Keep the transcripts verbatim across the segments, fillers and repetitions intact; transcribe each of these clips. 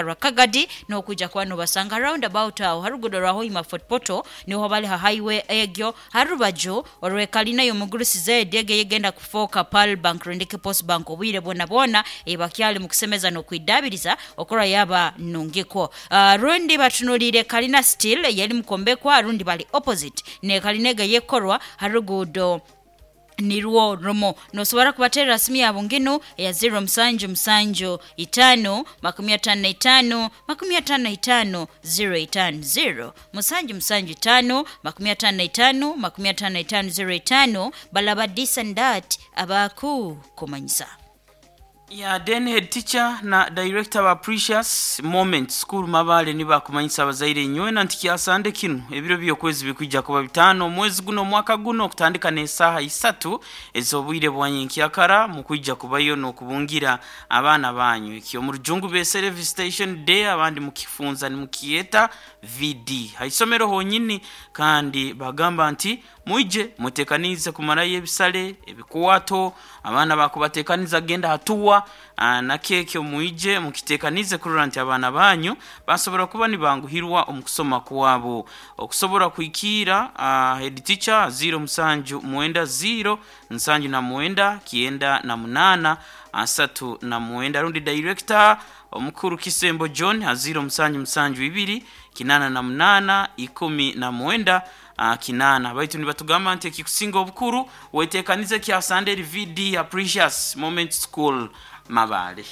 Rwa Kagadi n'okwija kuba nobasanga roundabout aho harugudo rwa Hoima Fort Portal, niho bali ha highway egyo harubaju orwekalina y'omugurusi zedi ege yegenda kufoka Pearl Bank rundike Post Bank. Obwire bwona bwona ebakyali mukusemeza n'okwidabiriza okora yaba nungiko. uh, rundi batunulire Kalina Steel yali mukombekwa, rundi bali opposite ne kalina ege yekorwa harugudo nirwo rumo. Nosobora kubaterera simu yabo nginu ya zero musanju musanju itano makumi atano na itano makumi atano na itano zero itano, zero musanju musanju itano makumi atano na itano makumi atano na itano zero itano. Balaba this and that abaku kumanyisa. Ya then head teacher na director wa Precious Moment School Mabale nibakumanyisa abazaire nywena nti kyasande kinu ebiro by'okwezi bikwijja kuba bitano omwezi guno omwaka guno, okutandika n'esaaha isatu ez'obwire bwanyenkyakara, mukwijja kubayo n'okubungira abaana banyu. Ekyo mu rujungu besere visitation day, abandi mukifunza nimukiyeta V D, haisomero honyini. Kandi bagamba nti mwije mutekanize kumarayo ebisale ebikwato, abaana bakubatekaniza genda hatuwa na keke. Mwije mukitekanize kurora nti abaana banyu basobora kuba nibanguhirwa omu kusoma kwabo. Okusobora kuikira uh, head teacher zero musanju mwenda zero nsanju na mwenda kienda na munana asatu na mwenda, rundi director omukuru Kisembo John zero musanju musanju ibiri kinana na munana ikumi na mwenda uh, kinana. Baitu nibatugamba nti ekikusinga obukuru wetekanize kya Sunday V D ya Precious Moment School Mabale.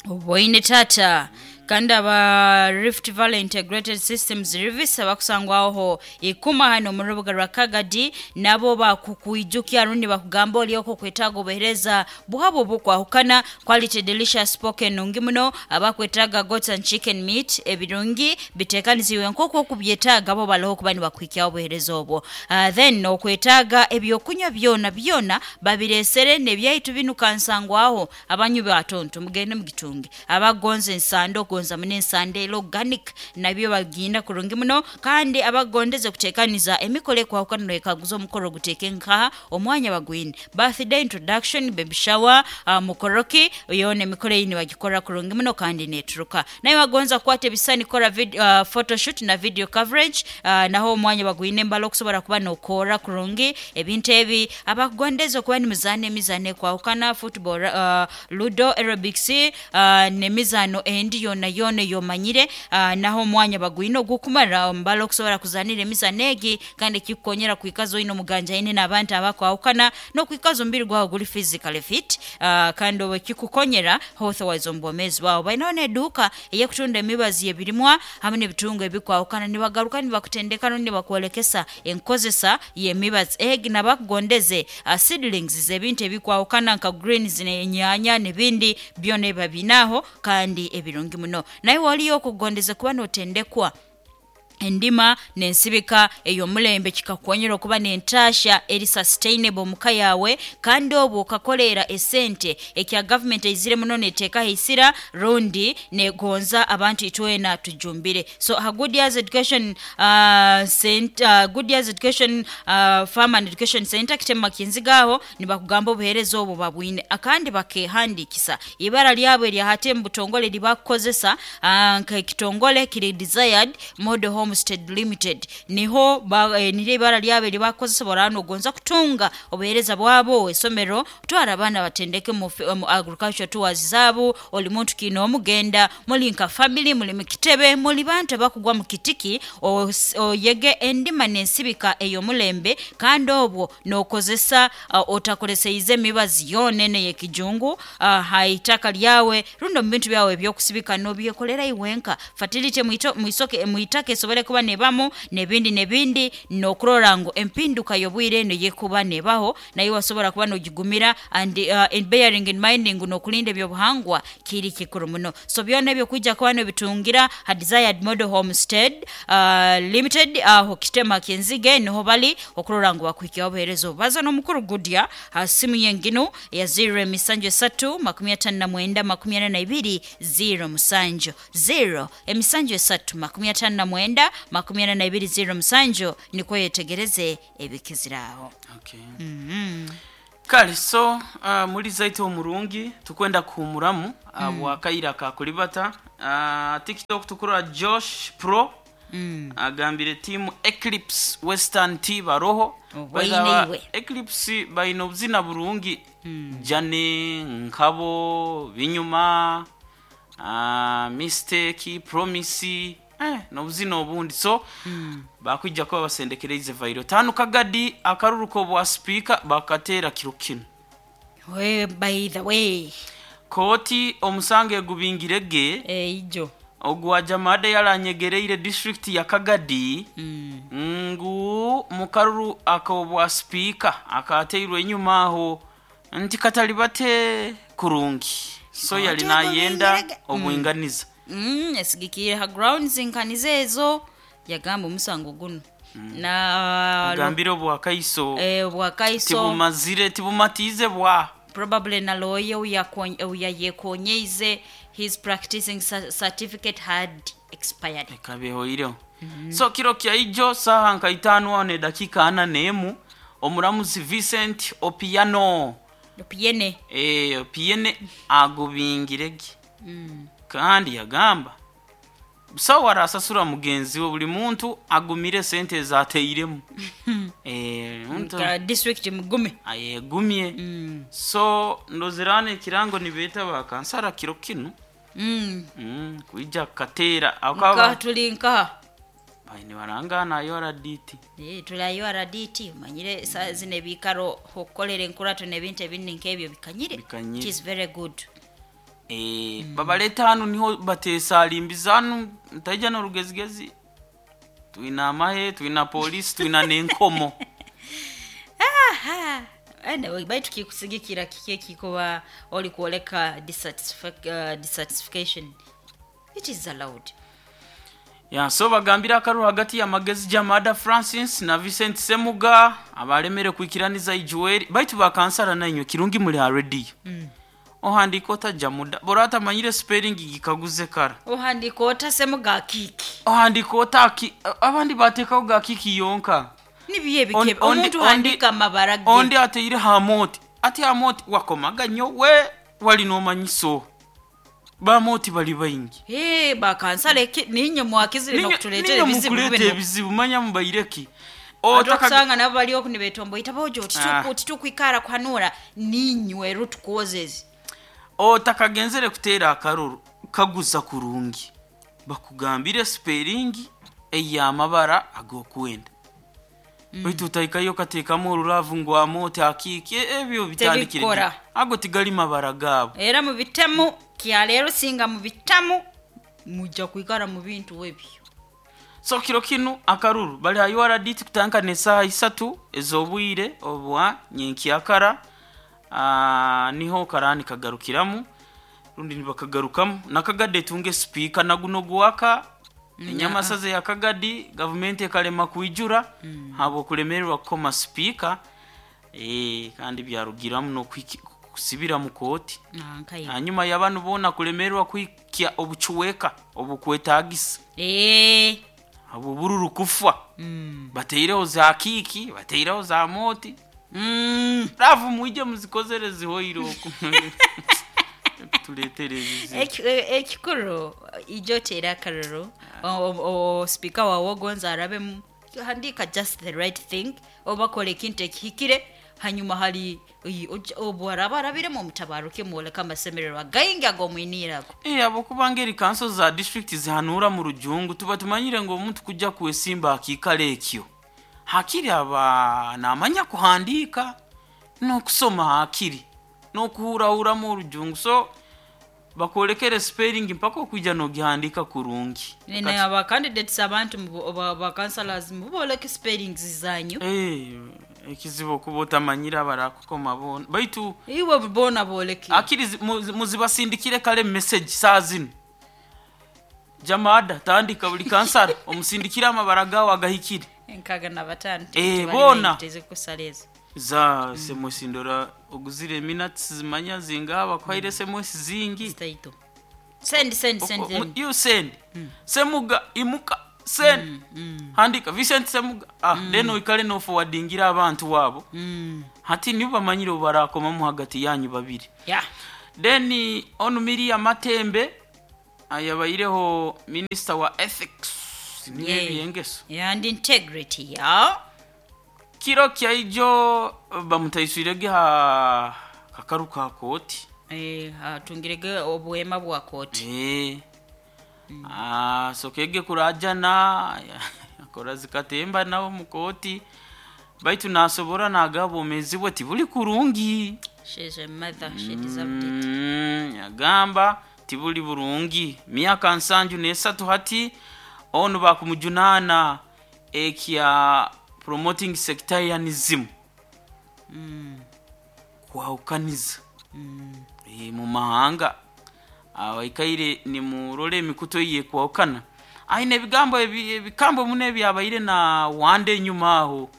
Obwoine tata. Kandi aba Rift Valley Integrated Systems Service abakusangwaho ikuma hano mu rubuga rwa Kagadi nabo bakukwijukya rundi bakugamba olioko kwetaaga obuhereza bwabo bukwahukana, quality delicious spoken nungi muno. Abakwetaaga goats and chicken meat ebirungi bitekanisiwe nk'oku okubyetaaga, bo baloho kuba nibakuhikyaho obuhereza obwo. uh, then okwetaaga ebyokunywa byona byona babiresere nebyaitu binu kansangwaho. Abanywi batonto mugende mugitunge, abagonza ensando, ogonza muno ensando era organic, nabyo bagenda kurungi muno. Kandi abagondeze kutekaniza emikolo ekwahukana, noyekaguza omukoro guteeke nkaha, omwanya bagwine, birthday, introduction, baby shower, uh, mukoroki yona emikoro eyi nibagikora kurungi muno kandi neturuka. Naye wagonza kukwata ebisani, kora vid, uh, photoshoot na video coverage, uh, naho omwanya bagwine embala okusobora kuba nokora kurungi ebintu ebi. Abakugondeza okuba nimuzaana emizaano ekwahukana, football, uh, ludo, aerobics, uh, n'emizaano endi yona yona eyomanyire, uh, naho omwanya bagwine ogukumara mbala okusobora kuzanira emizaano egi. Kandi ekikukonyera kwikaza oine omuganja aine n'abantu abakwahukana n'okwikaza omubiri gwawe guri physically fit, uh, kandi obu ekikukonyera health wise omu bwomeezi bwawe. Balinaho n'eduuka ey'ekutunda emibazi y'ebirimwa hamwe n'ebitungo ebikwahukana. Nibagaruka nibakutendeka rundi nibakwolekesa enkozesa y'emibazi egi. Nabakugondeze uh, seedlings z'ebintu ebikwahukana nka greens n'enyaanya n'ebindi byona ebiba biinaaho kandi ebirungi muno. Naye waliyo okugondeze kuba notendekwa endima n'ensibika ey'omulembe, kikakukonyera okuba n'entaasha eri sustainable omuka yawe, kandi obwo okakoleera esente ekya gavumenti eizire muno neteekaho isira rundi negonza abantu itwena tujumbire. So ha Good Years Education uh, Center, uh, Good Years Education uh, Farm and Education Center Kitema Kinzigaho, nibakugamba obuheereza obwo babwine akandi bakehandikisa ibara lyabo eryahate mu butongole libakukozesa uh, nk'ekitongole kiri Desired Model Homestead Limited, niho ba, eh, niryo ibara lyabo eribakukozesa. Borana ogonza kutunga obuheereza bwabo, esomero, twara abaana batendeke mu, mu agriculture tours zaabo. Oli muntu kiina omugenda muli nka family, muli mukitebe, muli bantu abakugwa mu kitiki, os- oyege endima n'ensibika ey'omulembe, kandi obwo n'okozesa uh, otakoleseize emibazi yoona ene ey'ekijungu uh, ha itaka lyawe rundi omu bintu byawe ebyokusibika, n'obyekolera iwenka. Fertility mwito- mwisoke mwitaka esobole kuba nebamu n'ebindi n'ebindi, n'okurora ngu empinduka y'obwire eno yekuba nebaho naye wasobora kuba n'ogigumira, and uh, in bearing in mind ngu n'okulinda ebyobuhangwa kiri kikuru muno. So byona ebyo kwijja kuba nobitungira ha Desired Model Homestead uh, Limited aho Kitema Kinzige, niho bali okurora ngu bakuhikyaho obuheereza obu. Baza n'omukuru Gudya ha simu yenginu ya zero emisanju esatu makumi atano na mwenda makumi ana na ibiri zero musanju, zero emisanju esatu makumi atano na mwenda makumi ana na ibiri zero musanju, nikwo yetegereze ebikiziraho. Okay. Kale so uh, muri zaitu omurungi tukwenda kuhumuramu uh, mm. bwakaira kakulibata uh, TikTok tukura Josh Pro Mm. agambire timu Eclipse Western T baroho Obwaine Baina iwe. Eclipse baina obuzina burungi mm. Jane Nkabo Binyuma uh, Mistake Promise eh, n'obuzina obundi so mm. bakwijja kuba basendekereize vairo tano kagadi akaruruko bwa speaker bakateera kiro kino. We, by the way, Kooti omusango egubingirege eijo ogwa jamada yaranyegereire district ya Kagadi Mm. ngu mukaruru akobwa speaker akateirwe enyuma aho nti katali bate kurungi so yali Kooti nayenda ogubingirege. obwinganiza. Mm, esigikire ha grounds nkaniza ezo yagamba omusango guno na Agambire obwakaiso eh, bwakaiso tibumazire tibumatize bwa probably na lawyer uyayekonyeize his practicing cer- certificate had expired. Ekabehoireho. So kiro kya ijo saha nka itaano aho nedakiika ana n'emu omuramuzi Vincent Opiano Opiene. eh, Opiene agubingirege kandi yagamba busawo arasasura mugenzi we buli muntu agumire sente ezateiremu. Eh, muntu Nka district mugume. ayegumye. Mm. So ndozerana ekirango nibeeta bakansara kiro kinu Mm. mm, kwija kateera Nka akaba tuli nkaha baine barangana ayo R D T. Eh, tuli U R D T manyire sa zino ebikaro okukolera enkurato n'ebintu ebindi nk'ebyo bikanyire. Bikanyire. It is very good. Eh, babaleta hanu niho batesalimbiza hanu ntaija n'orugezigezi twina amahe twina polisi twina n'enkomo. Aha. Anyway, baitu kikusigikira kiki ekikuba oli kwoleka dissatisfa- uh, dissatisfaction, it is allowed. Ya so bagambira akaru hagati ya Magezi Jamada Francis na Vincent Semuga abalemere kwikiraniza ijuweri baitu bakansara nainywe kirungi muri ha radio mm. Ohandika otajja muda bora atamanyire spelling gikaguze kara Ohandika ota Semuga kiki ohandika otaki abandi batekaho ga kiki yonka nibiye Ondi- bikebe ondi- omuntu handika amabara ge ondi ateire hamoti ati hamoti wakomaga nyo we wali nomanyiso bamoti bali baingi. Eh, bakansala eki ninye mwakizire Ninye- nokutuleetera ninye ebizibu mukuleeta bino ebizibu manya mubaireki Otaka... Otaka- okusanga nabo bali oku nibetomboita bojo Ah. titukwikara kuhanura ninywe root causes. Otakagenzere kuteera akaruru kaguza kurungi bakugambire spelling ey'amabara ag'okwenda baitu otaikayo kateekamu oruravu ngu amooti akiiki ebyo bitandikire Tebikora. ddi. Ago tigali mabara gaabo. Era mubitemu kyaleero singa mubitamu mujja kwikara mu bintu ebyo. So kiro kinu akaruru bali ha U R D T kutandika n'esaaha isatu ez'obwire obwa nyenkyakara ah, niho karani kagarukiramu rundi nibakagarukamu nakagadde etunge sipiika naguno gwaka enyamasaza ya Kagadi gavumenti ekalema kwijura mm. habwokulemererwa kukoma sipiika eh, kandi byarugiramu n'okusibira mu kooti. Ah, nkaye. Hanyuma y'abantu boona kulemererwa kwikya obucuweka obukwetagisa Eh. abo bururu kufa Mm. bateireho za kiki bateireho za moti Mm. ravu mwije muzikozere zihoire oku tuletere ebizibu. Eki- e- ekikuru ijo tera akaruru o, o, speaker wawe ogonza arabemu handika just the right thing oba kola ekintu ekihikire hanyuma hari oyi- oja- obu araba arabiremu omutabaruke mwoleka amasemererwa gaingi ag'omwiniirago. Eh, abo kubanga eri kanso za district zihanura mu rujungu tuba tumanyire ngo omuntu kujja kwesimba akikala ekyo hakiri aba namanya kuhandika n'okusoma hakiri n'okuhurahuramu orujungu so bakwolekere spelling mpaka okwijja n'ogihandika kurungi. Ne aba candidates abantu mu- ba ba councillors muboleke spellings zanyu. Eh, ekizibu okuba otamanyire abarakukoma boona baitu Iwe bona boleke. akiri zi- mu- muzibasindikire kale message saa zino jamada tandika buli kansara omusindikire amabara gawe agahikire. Enkaga na batano Eh, bona. teze kusala ezo. Za S M S ndora oguzire minutes zimanya zingaba kwaire S M S zingi. Zitaito. Send, send, send Oko- mu- them. you send Semuga imuka send handika Vincent Semuga ah then oikale no forwardingira abantu wabo Mm. Hati nibo bamanyire obarakomamu hagati yanyu babiri. Yeah. Then onu Miria Matembe ayabaireho minister wa ethics niyo Yeah. ebyengeso And integrity, yeah. kiro kyaijo bamutaiswirege ha kakaru ka kooti. Eh, atungirege obuhema bwa kooti. Eh. Ah, sokege kurajana akora zikatemba nabo mu kooti baitu nasobora nagaba omezi bwe tibuli kurungi. She's a mother, she deserved it. Mm, yagamba tibuli burungi myaka nsanju nesatu hati onu bakumujunana ekya promoting sectarianism Mm. kwahukaniza Mm. e, mu mahanga abaikaire nimurole emikuto iye kwahukana aine ebigambo ebi- ebikambo muno ebyabaire na wande enyuma aho.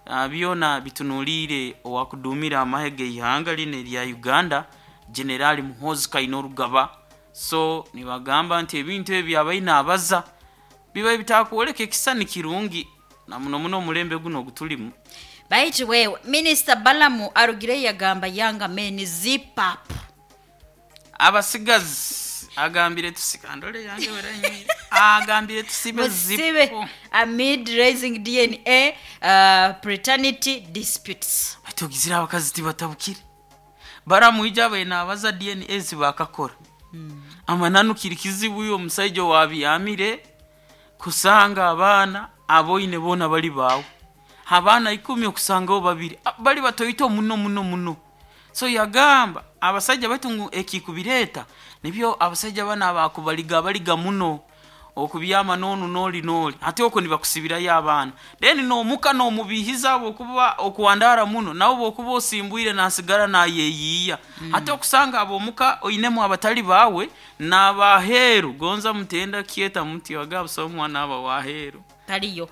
Ah, byona bitunuliire owakudumira amahe geihanga lino erya Uganda General Muhoozi Kainerugaba. So nibagamba nti ebintu ebyo byabaine abaza biba bitakwoleka ekisani kirungi na muno muno omulembe guno ogutulimu. Baitu wewe Minister Balamu arugire yagamba yanga men zip up. Abasigazi agambire tusikandole yange werenyi agambire tusibe Musibe zipu amid raising D N A uh, paternity disputes. Batugizira abakazi tibatabukire baramuija bena abaza D N A zibakakora mm. Amananu kiri kizibu uyo omusajja wabyamire kusanga abaana aboine bona bali bawe abaana ikumi okusanga babiri bali batoyito muno muno muno. So yagamba abasajja baitu ekikubireta nibyo abasajja bana bakubaliga baliga muno okubyama nonu noli noli ate oko nibakusibirayo abaana then nomuka nomubihiza okuba okuwandara muno nabo bokuba osimbwire nasigara nayeyiya mm. Ate okusanga abomuka oinemu abatali bawe nabaheru gonza mutenda kieta muti wagaba omwana aba waheru taliyo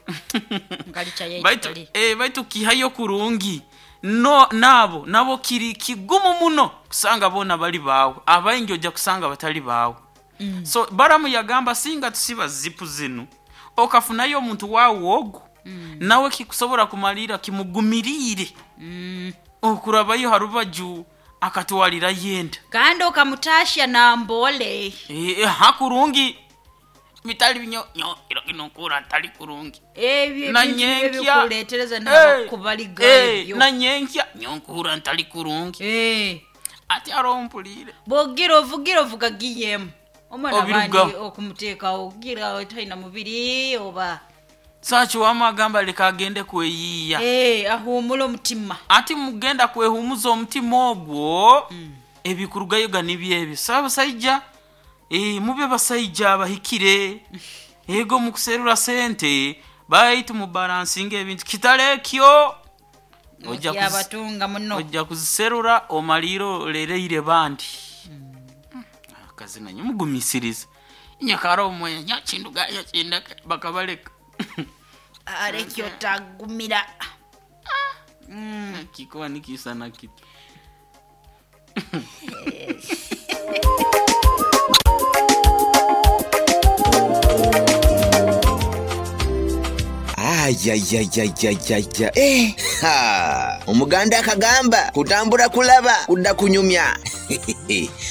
ngalicha yeye baitu eh baitu kihayo kurungi no nabo nabo kiri kigumu muno kusanga bona bali bawe abaingi oja kusanga batali bawe mm. So Baramu yagamba singa tusiba zipu zinu okafunayo omuntu wawe ogu mm. Nawe kikusobora kumalira kimugumirire mm. Okurabayo harubaju akatwalira yenda kandi okamutasha na mbole e, hakurungi bitali binyo nyo iro kinokura ntali kurungi ebyo na nyenkya kuletereza na kubaliga ebyo na nyenkya nyonkura ntali kurungi eh ati arompulire bogira ovugira ovuga giyem omwana bandi okumuteka ogira otaina mubiri oba sachi wamagamba leka agende kweyiya eh ahumula omutima ati mugenda kwehumuza omutima ogwo mm. Ebikurugayo ganibye saba saija eh mube basaija abahikire ego mukuserura sente baitu mu balancing ebintu kitalekyo ojja kubatunga muno ojja kuziserura omaliro lereire bandi mm. Akazi nanyo mugumisiriza nyakaro omwe nyakinduga yakinda bakabaleka arekyo tagumira mm. Kikowa nikisana kitu. Ayayayayayaya. Eh, ha. Omuganda akagamba kutambura kulaba kudda kunyumya.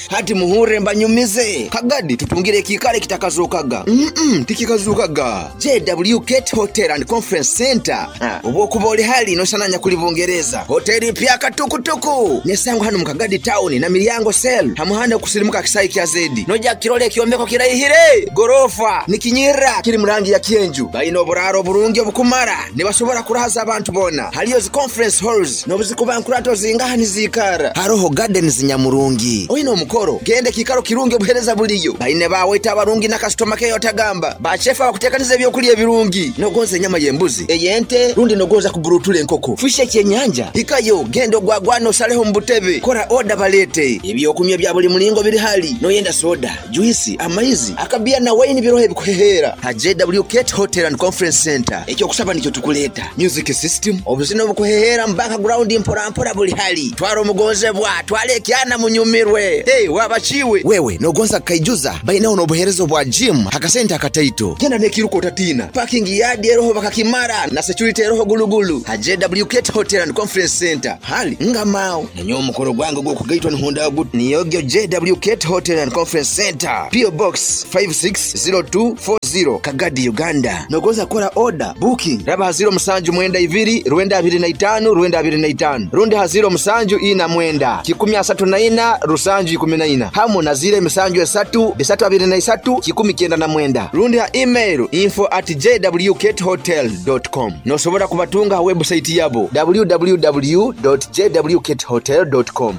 Hati muhure mbanyumize kagadi tutungire kikale kitakazukaga. Mm -mm, tikikazukaga. J W Gate Hotel and Conference Center. Obwokuba oli hali nosananya kuli Bungereza. Hoteli pya katukutuku. Nesango hano mukagadi town na milyango sel. Hamuhanda kusirimuka kisayi kya zedi. Noja kirole kiombeko kirayihire. Gorofa nikinyira kiri murangi ya kienju. Bayina oburaro burungi obukumara. Nibasobora kurahaza abantu bona. Haliyo zi conference halls nobuzikuba nkurato zingaha nizikara. Haroho gardens nyamurungi. Oyina omukoro gende kikaro kirungi obuhereza buliyo. Baine bawe abarungi na customer care otagamba. Bachefa bakutekaniza ebyokulya ebirungi. Nogonza enyama y'embuzi, ey'ente, rundi nogonza kuburutula enkoko. Fishe kyenyanja. Hikayo gendo gwagwano saleho mbutebe. Kora order balete. Ebyokunywa bya buli mulingo biri hali. Noyenda soda, juice, amaizi, akabia na wine birohe bikuhehera. Ha J W Gate Hotel and Conference Center. Ekyo kusaba nikyo tukuleta. Music system, obuzino bukuhehera mbaka ground mpora mpora buli hali. Twaro mugonzebwa, twale kyana munyu onyumirwe. Hey, wabachiwe wewe nogonza kaijuza bainaho n'obuheereza bwa gym akasente akataito genda n'ekiruka otatina parking yard eroho bakakimara na security eroho gulugulu ha J W Kate Hotel and Conference Center hali ngamao nanyo omukoro gwange gw'okugaitwa nihunda gut niyogyo J W Kate Hotel and Conference Center P O Box five six zero two four zero Kagadi Uganda. Nogoza kora order booking raba haziro musanju mwenda ibiri rwenda abiri na itanu rwenda abiri na itanu rundi haziro musanju ina mwenda kikumi asatu na ina rusanju ikumi na ina hamu na zile misanju esatu bisatu abiri na isatu kikumi kenda na mwenda rundi ha email info at j w kate hotel dot com. Nosobora kubatunga ha website yabo w w w dot j w kate hotel dot com.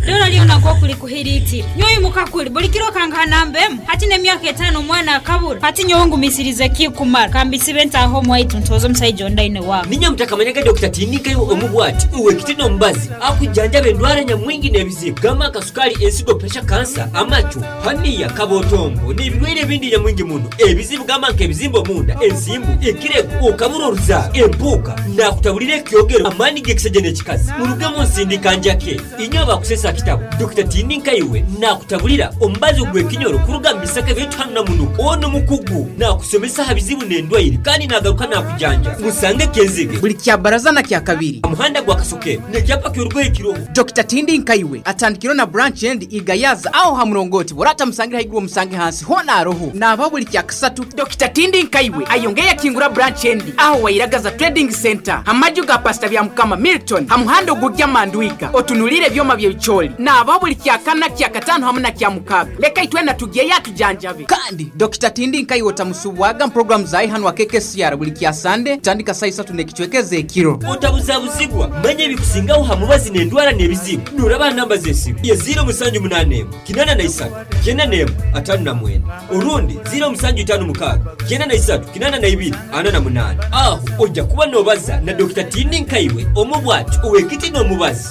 Dora liona kwa kuli kuhiriti nyoyi mukakuli buli kiro kangana mbemu hati nemyaka etano mwana akabura hati nyongu misirize kikumara kambisibe ntaho mwaitu ntozo msaija ondaine wangu ninya mutakamanyanga Doctor Tindika omubwati uwe kitino mbazi akujanja bendwara nyamwingi n'ebizibu gama kasukali ensigo pressure cancer amacho hania kabotombo n'ibirwaire bindi nyamwingi muno ebizibu gama nk'ebizimbo munda ensimbu ekirego okabura oruzaaro empuuka nakutabulira ekyogero amaani g'ekisajja n'ekikazi murugemu nsindika njake inyo abakusesa kitabo Doctor Tindika iwe nakutabulira ombazi ogw'ekinyoro kuruga mu bisaka by'etuhanu na munuka ono mukugu nakusomesa ha bizibu n'endwaire kandi nagaruka nakujanja musange kenzige buli kya baraza na kya kabiri omuhanda gwa kasokero n'ekyapa ky'orugoye kiroho Doctor Tindika iwe atandikiro na branch end igayaza aho ha murongoti burata musangira haiguru omusange hansi hona aroho naba buli kya kasatu Doctor Tindika iwe ayongeya kingura branch end aho wairagaza trading center amaju ga pastor bya mukama Milton hamuhanda ogujya mandwiga otunulire byoma by'ebicholi naba buli kya kana kya katano hamwe na kya mukaga leka itwena tugiye yatujanjabe kandi Doctor Tindika iwe otamusubwaga program zayi hano wa K K C R buli kya Sunday tandika saa isatu n'ekicwekeze ekiro otabuzabuzibwa manye bikusingaho hamubazi n'endwara n'ebizibu nuraba namba z'esimu ye zero musanju munane kinana na isatu kyenda n'emu atano na mwenda urundi zero musanju itano mukaaga kyenda na isatu kinana na ibiri ana na munane aho ojja kuba nobaza na Doctor Tindika iwe omubwati owekiti n'omubazi.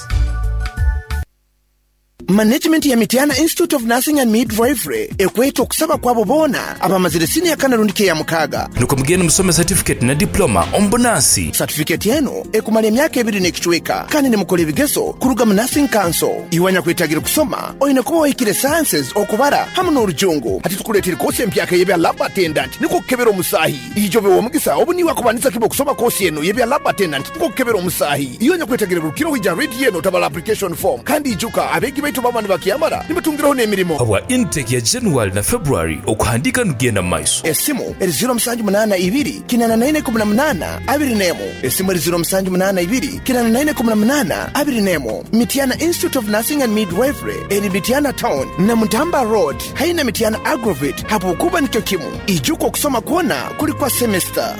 Management ya Mitiana Institute of Nursing and Midwifery ekweta okusaba kwabo bona abamazire siniya kana rundi ya mukaga nuko mugende musome certificate na diploma ombunasi certificate yenu ekumala emyaka ebiri n'ekicweka kandi nimukola ebigezo kuruga mu Nursing Council iwanya kwetagira kusoma oyina kuba wahikire sciences okubara hamu n'orujungu hati tukuleetera kosi empyaka y'ebya lab attendant niko kukebera omusahi ijobe w'omugisa obu niwe akubanisa kiba okusoma kosi eno y'ebya lab attendant niko kukebera omusahi iwanya kwetagira rukiro hija rate yeno tabala application form kandi ijuka abegi baitu baba nibakyamara nibatungiraho n'emirimo habwa intake ya January na February okuhandika nugenda mu maiso esimu eri zero musanju munana ibiri kinana na ine kumi na munana abiri n'emu esimu eri zero musanju munana ibiri kinana na ine kumi na munana abiri n'emu Mitiana Institute of Nursing and Midwifery eri Mitiana Town na Mutamba Road haina Mitiana Agrovet hapo kuba nikyo kimu ijuko okusoma kwona kuli kwa semester.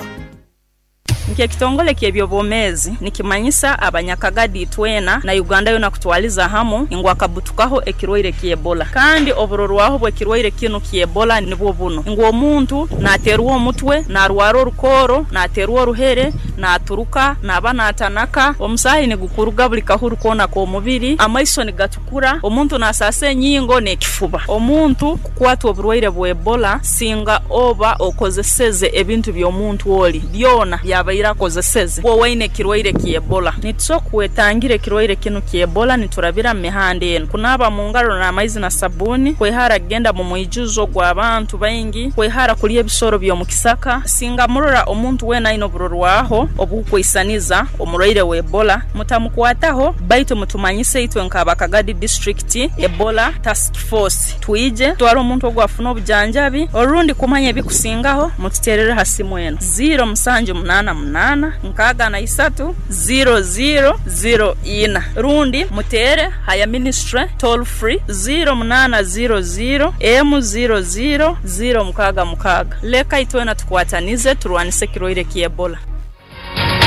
Nke kitongole ky'ebyobwomezi nikimanyisa abanyakagadi twena na Uganda yona kutwaliza hamu ingwa kabutukaho ekirwaire ky'Ebola kandi oburorwaho bw'ekirwaire kino ky'Ebola nibwo buno ingwa omuntu naterwa omutwe narwara orukoro naterwa oruhere naturuka naba natanaka omusahi nigukuruga buli kahuru kona k'omubiri amaiso nigatukura omuntu nasasa enyingo n'ekifuba omuntu kukwatwa oburwaire bwa Ebola singa oba okozeseze ebintu by'omuntu oli byona byabaire akozeseze wo waine kirwaire ky'Ebola nitusokwetangire kirwaire kino ky'Ebola niturabira mu mihanda eno kunaba mu ngaro n'amaizi na sabuni kwehara kugenda mu mwijuzo gw'abantu baingi kwehara kulya ebisoro by'omukisaka singa murora omuntu wena aine oburorwaho obukwisaniza omurwaire wa Ebola mutamukwataho baitu mutumanyise itwe nk'abakagadi district Ebola task force twije twara omuntu ogwafuna obujanjabi orundi kumanya ebikusingaho mututerere hasimu eno zero musanju munana munana nkaga na isatu zero zero zero ina rundi mutere haya ministry toll free zero munana zero zero m zero zero zero mukaga mukaga leka itwena tukwatanize turwanise kirwaire ky'Ebola.